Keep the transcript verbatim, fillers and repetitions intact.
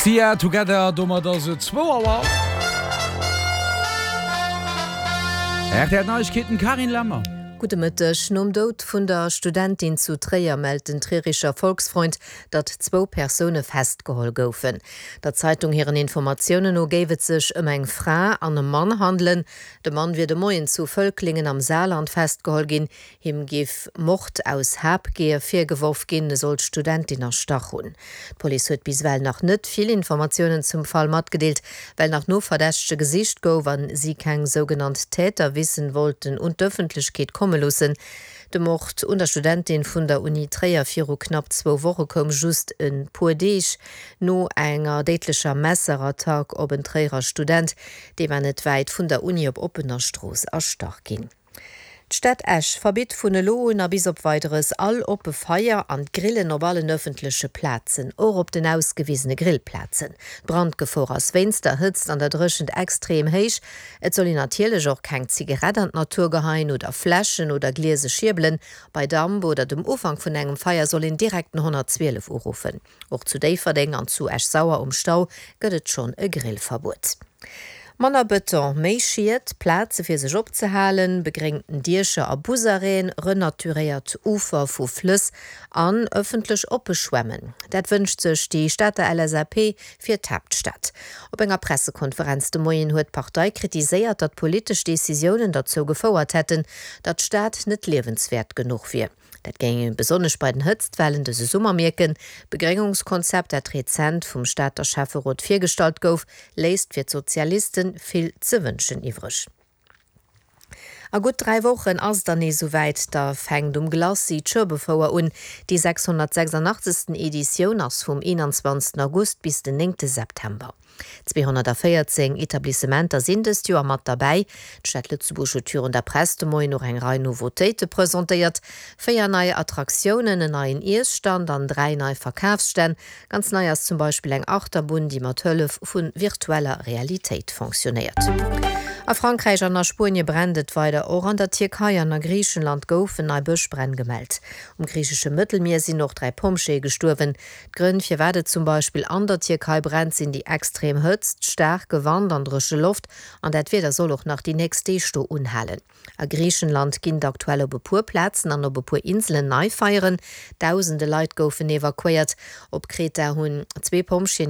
Sia, Together, domat ass et zwou Auer. Rtl Neiegkeeten, Carine Lemmer. Gudde Mëtteg. Nom Doud vun der Studentin zu Tréier mellt den Trierischer Volksfreund, datt zwou Persoune festgeholl goufen. Der Zeitung hiren Informatiounen no géif et sech ëm eng Fra an e Mann handelen. De Mann wier de Moien zu Völklingen am Saarland festgeholl ginn. Him géif Mord aus Habgier virgeworf ginn, e soll d'Studentin erstach hunn. D'Police huet bis ewell nach net vill Informatiounen zum Fall matgedeelt, well nach no Verdächtege gesicht gouf a si keng sougenannt Täterwissen wollten un d'Ëffentlechkeet komme loossen. De Mord un der Studentin vun der Uni Tréier viru knapp zwou Woche koum just e puer Deeg no enger déidlecher Messerattack op en Tréierer Student. Dee war net wäit vun der Uni op oppener Strooss erstach ginn. D'Stad Esch verbitt vun elo un a bis op Weideres all oppe Feier an d'Grillen op allen ëffentleche Plazen, och op den ausgewisene Grillplazen. D'Brandgefor ass wéinst der Hëtzt an der Dréchent extrem héich. Et soll een natierlech och keng Zigarett an d'Natur geheien oder Fläschen oder gliese Schierbelen. Bei Damp oder dem Ufank vun engem Feier soll een direkt den honnertzwielef uruffen. Och zu Déifferdeng an zu Esch-Sauer um Stau gëtt et schonn e Grillverbuet. Manner Bëton, méi Schied, Plaze fir sech opzehalen, begréngten Diecher a Busarrêten, renaturéiert Ufer vu Flëss an ëffentlech oppe Schwämmen, dat wënscht sech déi Stater L S A P fir d'Haaptstad. Op enger Pressekonferenz de Moien huet d'Partei kritiséiert, datt politesch Decisiounen derzou gefouert hätten, datt d'Stad net liewenswäert genuch wier. Dat géing ee besonnesch bei den Hëtztwellen dëse Summer mierken. D'Begréngungskonzept, dat rezent vum Stater Schäfferot virgestallt gouf, léisst fir d'Sozialiste vill ze wënschen iwwreg. A gutt dräi Wochen ass et dann nees esouwäit, da fänkt um Glacis d'Schueberfouer un. Déi sechshonnertsechsundachtzegsten Editioun ass vum eenanzwanzegsten August bis den néngte September. Zweehonnertvéierzéng Etablissementer sinn dëst Joer mat derbäi. D'Stad Lëtzebuerg huet virun der Press de Moien och eng Rei Nouveautéite presentéiert, Véier nei Attraktiounen, en neien Iesstand an dräi nei Verkafsstänn. Ganz nei ass zum Beispill eng Achterbunn, déi mat Hëllef vu virtueller Realitéit fonctionnéiert. A Frankräich an a Spuenie brennt et weider. Och an der Tierkei an a Griichenland goufen nei Bëschbränn gemellt. Um griichesche Mëttelmier sinn och dräi Pompjeeë gestuerwen. D'Grënn, firwat et zum Beispill an der Tierkei brennt, sinn déi extrem Hëtzt, staarke Wand an dréche Loft. An dat Wieder soll och nach déi nächst Deeg do unhalen. A Griichenland ginn et aktuell op e puer Plazen an op e puer Inselen nei Feieren. Dausende Leit goufen evakuéiert. Op Kreta hunn zwee Pompjeeën